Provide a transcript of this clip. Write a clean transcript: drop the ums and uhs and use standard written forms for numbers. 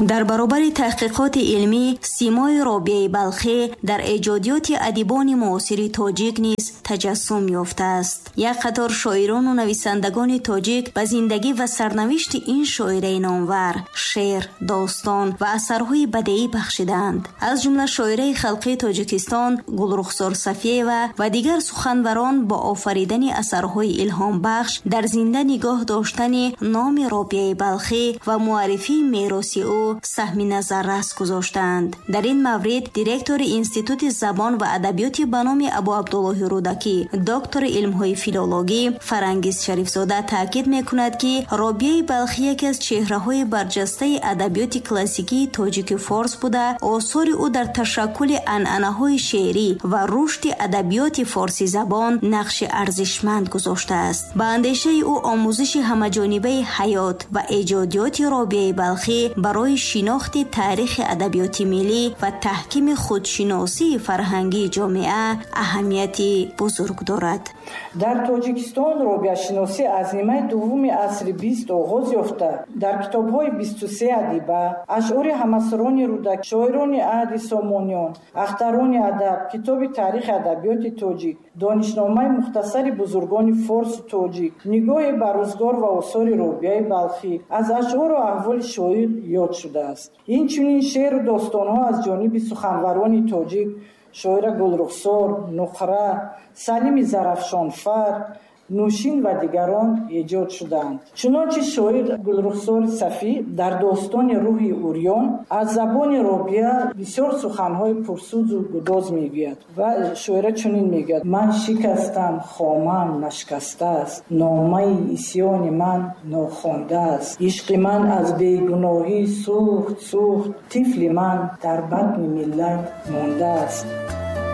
Дар баробари таҳқиқоти илмӣ, симои Робиаи Балхӣ дар эҷодиёти адибони муосири тоҷик низ таҷассум ёфтааст. Як қатор шоирону нависандагони тоҷик ба зиндагӣ ва сарнавишти ин шоираи номвар шеър, достон ва асарҳои бадеӣ бахшидаанд. Аз ҷумла шоираи халқии Тоҷикистон Гулрухсор Сафиева ва дигар суханварон бо офаридани асарҳои илҳомбахш дар зинда нигоҳ доштани номи Робиаи Балхӣ ва муаррифии мероси ӯ саҳми назаррас гузоштаанд. Дар ин маврид директори Институти забон ва адабиёти ба номи Абу Абдуллоҳи Рӯдакӣ, доктори илмҳои филологӣ Фарангиз Шарифзода таъкид мекунад, ки Робиаи Балхӣ яке аз чеҳраҳои барҷастаи адабиёти классикии тоҷики форс буда, осори ӯ дар ташаккули анъанаҳои шеърӣ ва рушди адабиёти форсизабон нақши арзишманд гузоштааст. Ба андешаи ӯ, омӯзиши ҳамаҷонибаи ҳаёт ва эҷодиёти Робиаи Балхӣ барои шинохти таърихи адабиёти миллӣ ва таҳкими худшиносии фарҳангии ҷомеа аҳамияти бузург дорад. Дар Тоҷикистон робиашиносӣ аз нимаи дуввуми асри 20 оғоз ёфта, дар китобҳои 23 адиба, ашъори ҳамасрони Рӯдакӣ, шоирони аҳди Сомониён, ахтарони адаб, китоби таърихи адабиёти тоҷик, донишномаи мухтасари бузургони форсу тоҷик, нигоҳе ба рӯзгор ва осори Робиаи Балхӣ аз ашъору аҳволи шоир ёд шудааст. Инчунин шеъру достонҳо аз ҷониби суханварони тоҷик шоира Гулрухсор, Нуқра, Салими Зарафшонфар, Нӯшин ва дигарон эҷод шудаанд. Чунончи шоир Гулрухсори Сафӣ дар достони Рӯҳи урён аз забони Робия бисёр суханҳои пурсӯзу гудоз мегӯяд ва шоира чунин мегӯяд: «Ман шикастам, хомам нашкастааст, номаи исьёни ман нохондааст, ишқи ман аз бегуноҳӣ сӯхт, сӯхт, тифли ман дар батни миллат мондааст».